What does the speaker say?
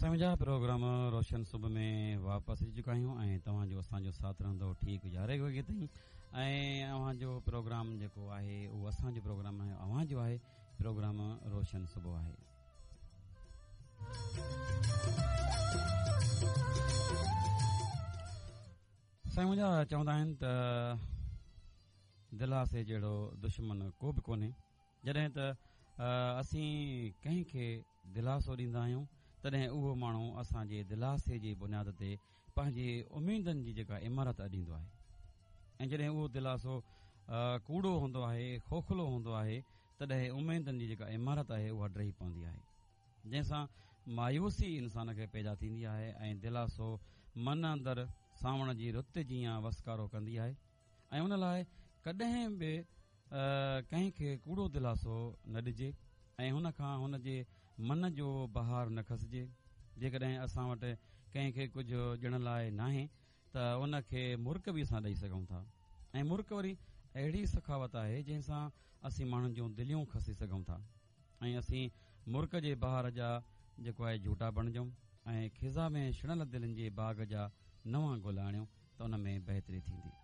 سائين منهنجا پروگرام روشن صبح ۾ واپس اچي چڪا آهيون ۽ توهان جو اسان جو ساٿ رهندو ٺيڪ يارهين وڳي تائين ۽ اوهان جو پروگرام جيڪو آهي اهو اسان جو پروگرام آهي اوهان جو آهي پروگرام روشن صبح آهي. سائين منهنجا چوندا آهن ته دلاسي جهڙو دشمن ڪو به ڪونهي جڏهن ته اسين ڪنهن کي دلاسو ڏيندا آهيون تڏهن اهو ماڻهو اسان جي دلاسي جي بنياد تي پنهنجي اميدن جي جيڪا عمارت اڏيندو آهي ۽ جڏهن اهو دلاسو ڪوڙو هوندو آهي کوکلو هوندو آهي تڏهن اميدن جي جيڪا عمارت آهي اها ڊهي پوندي آهي جنهن سان مايوسي انسان کي پيدا ٿيندي آهي ۽ دلاسو من اندر سانوڻ جي رت جيان وسڪارو ڪندي آهي ۽ ان لاء ڪڏهن به ڪنهن کي ڪوڙو دلاسو نه ڏجي ۽ هن کان هن جي من جو بهار نه کسجي. جيڪڏهن اسان وٽ ڪنهن کي ڪجهه ڏيڻ لاء ناهي ته ان کي مرڪ به اسان ڏئي سگهون ٿا ۽ مرڪ وري اهڙي سخاوت آهي جنهن سان اسين ماڻهن جون دليون کسي سگهون ٿا ۽ اسين مرڪ جي بهار جا جيڪو آهي جهوٽا بڻجون ۽ خزان ۾ ۾ ڇڻل دلين جي باغ جا نوان گل آڻيون ته ان ۾ بهتري ٿيندي.